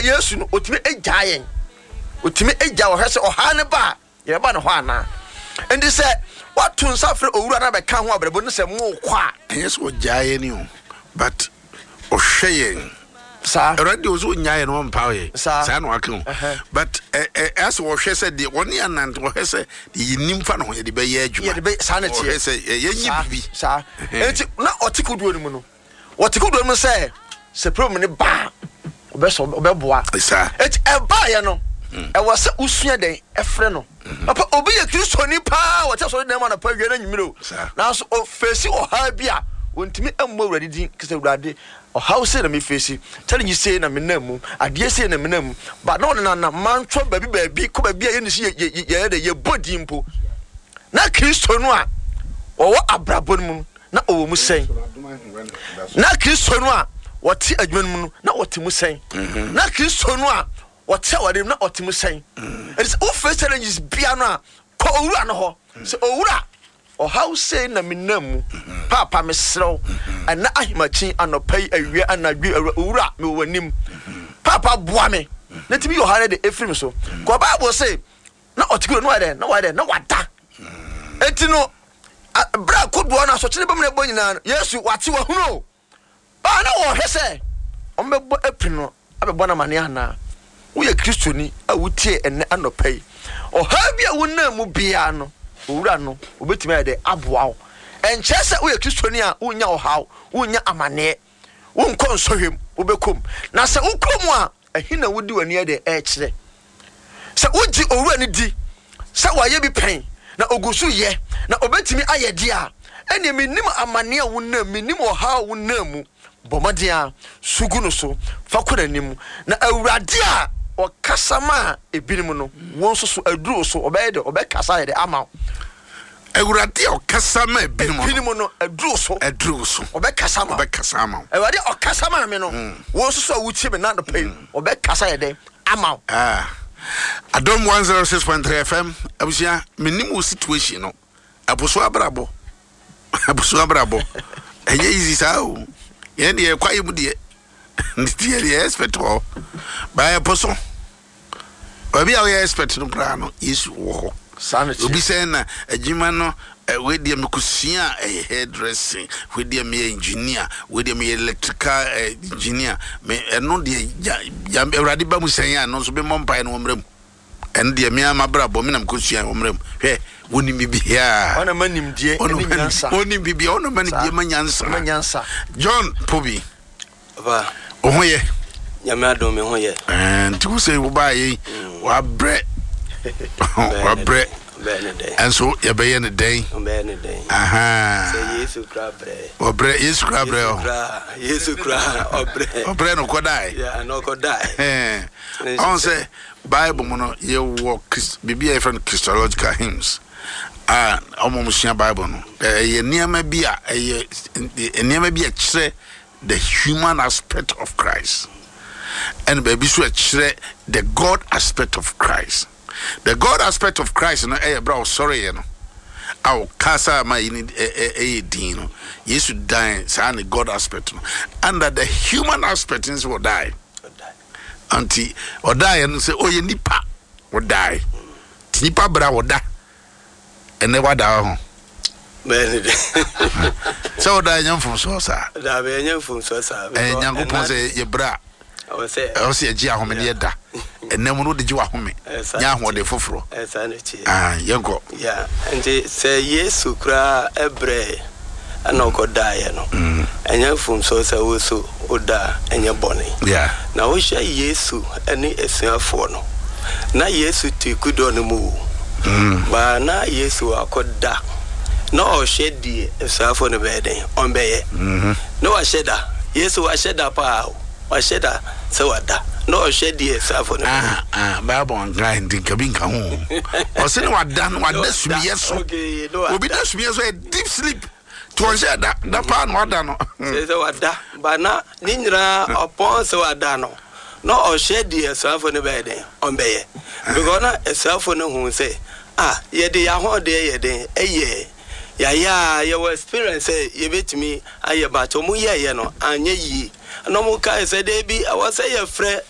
Yesu no, ɔtumi gyaa yɛn. Ɔtumi gya ɔhwɛ sɛ ɔhaw no ba a, yɛbɛba ne hɔ anaa. Enti sɛ woato nsa frɛ owura no abɛka ho abrabɔ no sɛ morekɔ a. Ɛnyɛ sɛ ɔgyaa yɛn o, but ɔhwɛ yɛn. Saa. Awurade deɛ ɔsɛ ɔnyaa yɛn na ɔmpaw yɛn. Saa. Saa na waka o. But ɛ ɛ asɛ ɔhwɛ sɛ deɛ ɔne anante, ɔhwɛ sɛ deɛ yɛnim fa ne ho yɛde bɛyɛ adwuma. Yɛde bɛ saa na ɛteɛ. Ɔhwɛ sɛ yɛnyɛ biribi. Saa. Enti na ɔte kodoɔ no mu no, wɔte kodoɔ no mu sɛ sɛ problem no ba a, ɔbɛsɔ ɔbɛboa. Saa. Eti ɛbaeɛ no, ɛwɔ sɛ wosua dɛn ɛfrɛ no. Papa, obi yɛ Kristoni paa, wɔte asɔre dan mu anɔpa, awia ne anwummere o. Nanso ɔfeesi ɔhaw bi a, ɔntumi mmɔ Awurade din kɛ sɛ, Awurade, ɔhaw sei na mefeesi, challenge sei na menam mu, adeɛ sei na menam mu. But na ɔnenam mantwɔ baabi baabi kɔ baabi a yɛnni so yɛyɛ dɛ yɛbɔ din mpo. Na Kristo no a ɔwɔ abrabɔ no mu no, na ɔwɔ mu sɛn? Na Kristo no a ɔte adwuma no mu no, na ɔte mu sɛn? Na Kristo no a ɔte aware mu na ɔte mu sɛn? Ɛti sɛ wofɛ challenges bia no a, kɔ owura no hɔ sɛ, owura, ɔhaw sei na menam mu, paapa mesrɛ wo, ɛnɛ ahemakyin, anɔpa yi, awia, anadwo, owura, mewɔ w'anim, paapa boa me na tumi yɛ ɔhaw no de ɛfiri me so. Kɔ Bible se na ɔte kuro no wayɛ dɛ na wayɛ dɛ na wada. Enti no berɛ a kodoɔ no asɔkyene bɛmu na ɛbɔ nyinaa no, Yesu wate wahunu o. Baa na wɔhwɛ sɛ wɔbɛbɔ apini no abɛbɔ no amaneɛ anaa. Woyɛ Kristoni a wotie ɛnnɛ anɔpa yi, ɔhaw bi a wonam mu biara no, Owura no obɛtumi ayɛ dɛ aboa wo. Ɛnkyerɛ sɛ woyɛ Kristoni a wonnya ɔhaw, wonnya amaneɛ, wonkɔ nsɔhwɛ mu, wobɛkɔ mu. Na sɛ wokɔ mu a, ɛhe na wode w'ani ayɛ dɛ ɛrekyerɛ? Sɛ wogye Owura no di sɛ wayɛ bi pɛn, na ogu so yɛ, na obetumi ayɛ deɛ a, ɛnneɛ mennim amaneɛ a wonam, mennim ɔhaw a wonam mu. Bɔ mmɔden ara, su gu no so, fa kɔ n'anim, na Awurade a ɔkasa maa ebinom no, wo nso so aduru wo so, ɔbɛyɛ dɛ, ɔbɛkasa ayɛ dɛ ama wo. Awurade a ɔkasa maa ebinom no. Ebinom no, aduru wo so. Aduru wo so. Ɔbɛkasa ama wo. Ɔbɛkasa ama wo. Awurade a ɔkasa maa me no, wo nso so a wotie me nnɛ anɔpa yi, ɔbɛkasa ayɛ dɛn ama wo. Ah, Adom 106.3 FM, abusua, menim wo situation no. Ɛpo so abrabɔ, ɛpo so abrabɔ. Ɛnyɛ easy saa o. Yɛn deɛ kwaeɛ mu deɛ, nti yɛ deɛ expert wɔ hɔ. Ba ɛpo so. Baabi a woyɛ expert no koraa no, Yesu wɔ hɔ. Saa na ɛteɛ. Obi sɛ na adwuma no, wei deɛ mekɔsua a ɛyɛ hairdressing, wei deɛ meyɛ engineer, wei deɛ meyɛ electrical engineer. Me ɛno deɛ gya gya Awurade ba mu sɛn a, ɛno nso memmɔ mpaeɛ na wɔmmra mu. Ɛno deɛ me ara m'abrabɔ me na mekɔsua wɔmmra mu. Hwɛ, wɔnim biribiara. Ɔna ma nimdeɛ ne nyansa. Ɔnim biribiara, ɔna ma nimdeɛ ma nyansa. Ma nyansa. John Pobi. Papa. Wo ho yɛ? Nyame adom me ho yɛ. Ɛɛ nti wo sɛ wo baa yɛ wabrɛ wabrɛ ɛnso yɛbɛyɛ ne dɛn? Ɔbɛyɛ ne dɛn? Sɛ Yesu kura brɛ. Ɔbrɛ Yesu kura brɛ o. Yesu kura ɔbrɛ. Ɔbrɛ no kɔ dae. Yeah, no kɔ dae. Ɔn sɛ Bible mu no yɛwɔ biribi a yɛfrɛ no Christological hymns a wɔn sua Bible no ɛyɛ nneɛma bi a ɛyɛ nneɛma bi a ɛkyerɛ the human aspect of Christ ɛna baabi so ɛkyerɛ the God aspect of Christ. The God aspect of Christ no ɛyɛ berɛ a ɔsɔreeɛ no a ɔkasa ma yi ne ɛyɛ din no, Yesu dan saa ne God aspect no, and the human aspect nso ɔdae. Nti ɔdaeɛ no sɛ ɔyɛ nipa ɔdae, nti nipa berɛ a ɔda ɛnɛ wada hɔ ho. Bɛyɛ ne dɛ. Sɛ woda ɛnyɛ mfomsoɔ saa. Daabi, ɛnyɛ mfomsoɔ saa. Ɛyɛ Nyankopɔn sɛ yɛbrɛ a ɛwɔ sɛ yɛgye ahome ne yɛda. Ɛnɛ mu no wode gye w'ahome nya ahoɔden foforɔ. Ah, yɛnkɔ. Yeah, nti sɛ Yesu koraa ɛbrɛɛ ɛna ɔkɔdaeɛ no, ɛnyɛ mfomsoɔ sɛ wo nso woda a, ɛnyɛ bɔne. Yeah. Na wohwɛ Yesu ne asuafoɔ no, na Yesu te kudɔ no mu o, but na Yesu akɔda na ɔhwɛ deɛ asuafoɔ no bɛyɛ dɛn, ɔmbɛyɛ. Na wahyɛ da, Yesu wahyɛ da paa o, wahyɛ da sɛ wada na ɔhwɛ deɛ asuafoɔ no bɛyɛ. Ah, ah, Bible nka nti nka bi nka ho. Ɔse ne wada no, wada sumiyɛ so. Obi da sumiyɛ so yɛ deep sleep. Nti ɔnhyɛ da, da paa na wada no. Sɛ wada, ba na ne nyinaa ɔpɔn sɛ wada no, na ɔhwɛ deɛ asuafoɔ no bɛyɛ dɛn, ɔmbɛyɛ. Because na asuafoɔ no hu sɛ, ah, yɛde yɛn ahoɔden yɛ dɛn, ɛyɛ, yɛayɛ a, yɛwɔ experience sɛ yɛbɛtumi ayɛ, but ɔmo yɛɛyɛ no, anyɛ yie. Ɛna ɔmo kae sɛ, daabi, ɛwɔ sɛ yɛfrɛ.